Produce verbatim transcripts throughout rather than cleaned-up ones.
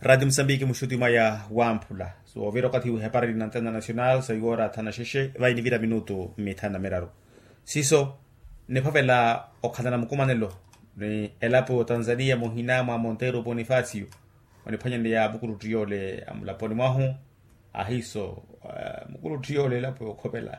Rati musambiki muxuti mwaya wamphula. Soovira okathi wihepari na antena nacional sa iwora thana xexe vayi nivira minutu mithanu na miraru. Siiso niphavela okhalana mukumanelo ni elapo ya otanzania muhina mwa monteiro bonifacio oniphwanyaneya mukuluttiyoole amulaponi mwahu. Ahiiso mukuluttiyoole elapo yookhopela.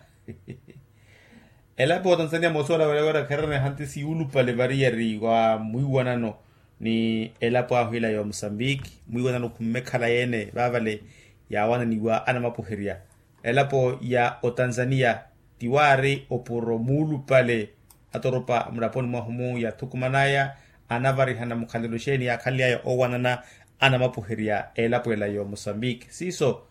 Elapo ya otanzania moosuwela wira wira khererene hantisi yuulupale variyari wa mwiiwanano ni elapo ahu ila ya omusambiki mwiiwanano khummekhala yeene vaavale yaawananiwa anamapuherya. Elapo ya otanzania tiwaari opuro muulupale atoropa mulaponi mwahu-mu yathukumanaya anavarihana mukhalelo xeeni yaakhanly'aya oowanana anamapuherya elapo ela ya omusambiki siiso.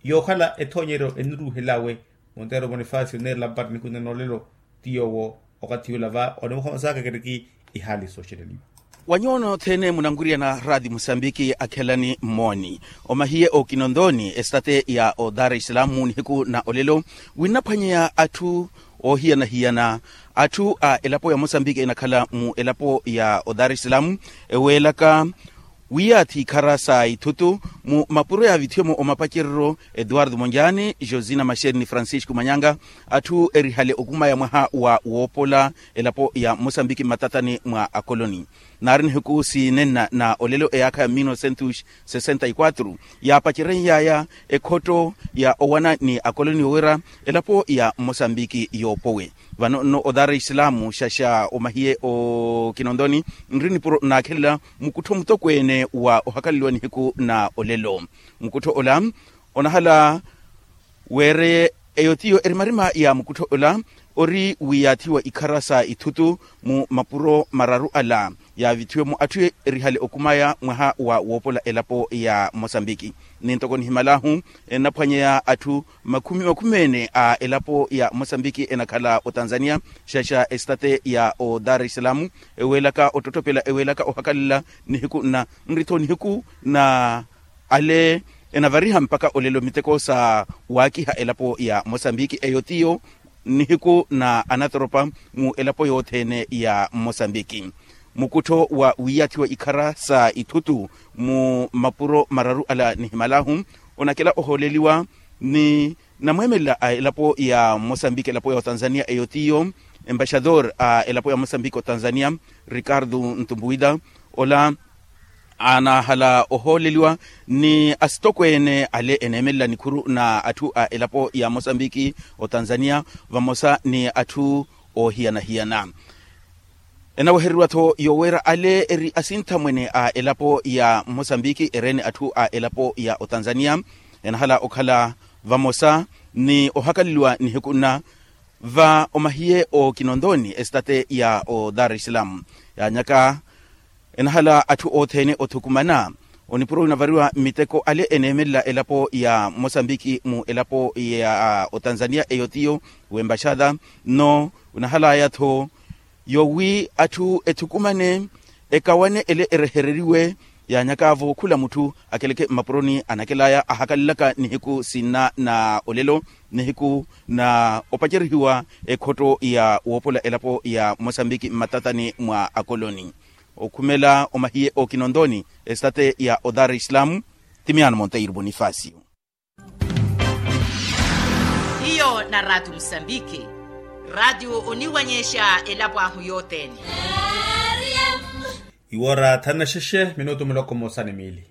Yookhala ethoonyeryo eniruuhelawe monteiro bonifacio neerela mpari nikunena olelo ti yoowo okathi yoola va onimukhonsaka keriki ihaali sooxeleliwa. Wa nyuwo nothene munanwiriyana rati musambiki akhelani mmooni omahiye okinontooni estate ya odar islamu nihiku na olelo winnaphwanyeya atthu oohiyana-hiyana atthu a elapo ya mosambiki enakhala mu elapo ya odar islamu eweelaka wiyaathi ikhara sa ithutu mu mapuro yaavithiwe-mo omapacereryo eduardo monjani josina maxeri ni francisco manyanga atthu erihale okumaya mwaha wa woopola elapo ya mosambiki mmatatani mwa akoloni naari nihiku sinenna na olelo eyaakha ya mil novecentos sessenta y quatro yaapacereny'aya ekhotto ya owana ni akoloni yowira elapo ya mosambiki yoopowe vano nno odar islamu xaxa omahiye okinontooni nri nipuro naakhelela mukuttho mutokweene wa ohakaleliwa nihiku na olelo mukuttho ola onahala weereye eyo tiyo erimarima ya mukuttho ola ori wiyaathiwa ikhara sa ithutu mu mapuro mararu ala yaavithiwe-mo atthu erihale okumaya mwaha wa woopola elapo ya mosambiki ni ntoko nihimal'ahu ennaphwanyeya atthu makhumi makhumi ene a elapo ya mosambiki enakhala otanzania xaxa estate ya odar islamu eweelaka ottottopela eweelaka ohakalela nihiku na nri-tho nihiku na ale enavariha mpakha olelo miteko sa waakiha elapo ya mosambiki eyo tiyo nihiku na anatoropa mu elapo yothene ya mosambiki mukuttho wa wiyaathiwa ikhara sa ithutu mu mapuro mararu ala nihimal'ahu onakela ohooleliwa ni namweemelela a elapo ya mosambiki elapo ya otanzania eyo tiyo embaxador a elapo ya mosambiki otanzania ricardo ntumbuwita ola anahala ohooleliwa ni asitokweene ale eneemelela nikhuru na atthu a elapo ya mosambiki otanzania vamosa ni atthu oohiyana-hiyana enawehereriwa-tho yoweera ale eri asinthamwene a elapo ya mosambiki ereene atthu a elapo ya otanzania enahala okhala vamosa ni ohakaleliwa nihiku nna va omahiye okinontooni estate ya odar islamu yaanyaka enahala atthu othene othukumana onipuro winavariwa miteko ale eneemelela elapo ya mosambiki mu elapo ya otanzania eyo tiyo wembaxada nno winahalaya-tho yowi atthu ethukumane ekawane ele erehereriwe yaanyaka-vo khula mutthu akeleke mmapuroni anakelaya ahakalelaka nihiku sinna na olelo nihiku na opacerihiwa ekhotto ya woopola elapo ya mosambiki mmatatani mwa akoloni okhumela omahiye okinontooni estate ya odar islamu ti miyaano monteiro bonifacio hiyo na ratu musambiki ratu oniwanyexa elapo ahu yothene iwora thanu na xexe minutu muloko mmosa ni miili